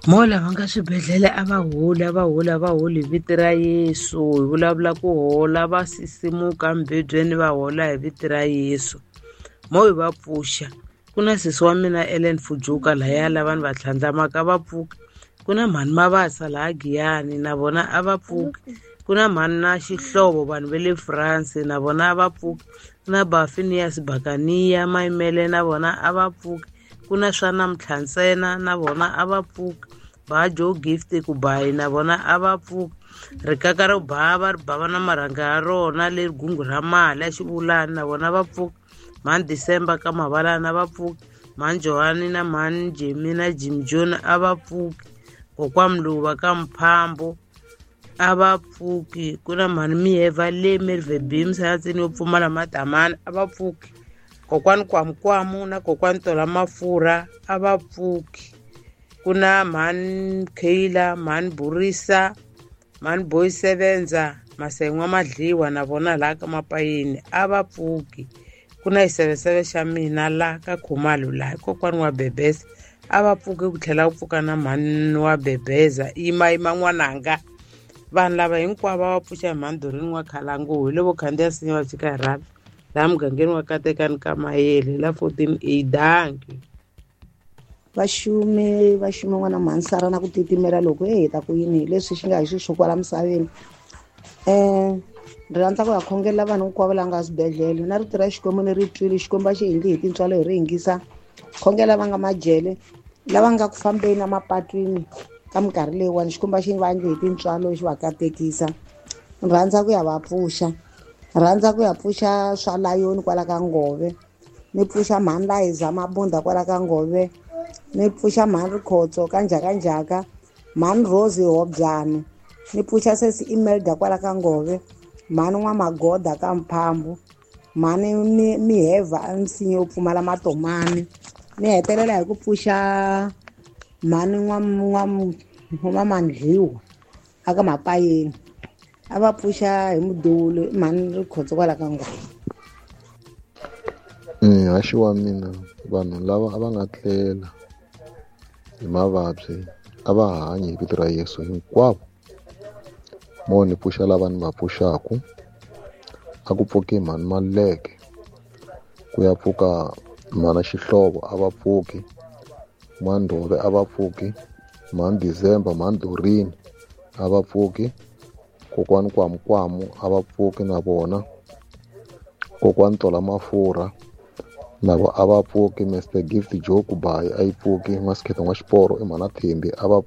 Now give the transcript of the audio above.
Mo lava nga swibedhlele a va holi, a va holi, a va holi hi vito ra Yesu. Hi vulavula ku hola, va sisimuka embedweni va hola hi vito ra Yesu. Mo hi va pfuxa. Ku na sesi wa mina Ellen Fujuka lahaya, lava ni va tlhandlamaka a va pfuki. Ku na mhani Mabasa laha Giyani, na vona a va pfuki. Ku na mhani na Xihlovo, vanhu va le France, na vona a va pfuki. Ku na Bafinias Bakaniya Mayimele, na vona a va pfuki. Ku na swa namuntlha ntsena, na vona a va pfuki. Ba Joe Gift Kubayi, na vona a va pfuki. Rikaka ro bava ri bava na marhanga ya rona leri gungu ra mali a xivulani, na vona va pfuki. Mhani December ka Mavalana va pfuki. Mhani Johani na mhani Jimmy na Jim John a va pfuki. Kokwa Mluva ka Mphambo a va pfuki. Ku na mhani Miyeva le Merve Beams a tsini yo pfumala madamani a va pfuki. Kokwani Kwamukwamu na kokwani Tola Mafurha a va pfuki. Ku na mhani Kayla, mhani Burisa, mhani Boy Sevenza, Masengwa Madliwa, na vona laha ka Mapayeni a va pfuki. Ku na xiseveseve xa mina la ka Khumalo laha kokwani wa Bebeza a va pfuki, ku tlhela ku pfuka na mhani wa Bebeza. Yima yima n'wananga, vanhu lava hinkwavo va pfuxa hi mhani Dorini wa Khalanguhu hi le vo khandziya sinya va chika hi rhavi laha mugangeni wa Katekani ka Mayele la 14 A. Dankie. Vaxumi vaxumi n'wana mhansara na ku titimela loko he heta ku yini hi leswi xi nga hi xiswo kwala misaveni. Ni rhandza ku ya khongelela vanhu hinkwavo lava nga swibedhlele na rito ra Xikwembu ni ri twile. Xikwembu a xi endli hi tintswalo hi ri yingisa. Khongela va nga majele, lava nga ku fambeni emapatwini ka minkarhi leyiwani, Xikwembu a xi va endli hi tintswalo xi va katekisa. Ni rhandza ku ya va pfuxa, ni rhandza ku ya pfuxa swa layoni kwala ka Ngove, ni pfuxa mhani Layiza Mabunda kwala ka Ngove, ni pfuxa mhani Rikhotso ka Njhakanjhaka, mhani Rose Hobyani, ni pfuxa sesi Imelda kwala ka Ngove, mhani N'wamagoda ka Mphambu, mhani Miheva nsinya yo pfumala matomani. Ni hetelela hi ku pfuxa mhani N'wamandliwa aka Mapayeni, a va pfuxa hi mudulu mhani Rikhotso kwala ka Ngove. Haxi wa mina, vanhu lava a va nga tlela hi mavabyi a va hanyi hi vito ra Yesu hinkwavo. Mo ni pfuxa lava ni va pfuxaku, a ku pfuki mhani Maluleke, ku ya pfuka mhana Xihlovo a va pfuki, N'wandhove a va pfuki, mhani December, mhani Dorini a va pfuki, kokwani Kwamukwamu a va pfuki na vona, kokwani Tola Mafurha na vo a va pfuki, Mr Gift Joe Kubayi a yi pfuki, N'wasikhetho N'waxiporo i mhana Thembi a va pfuki.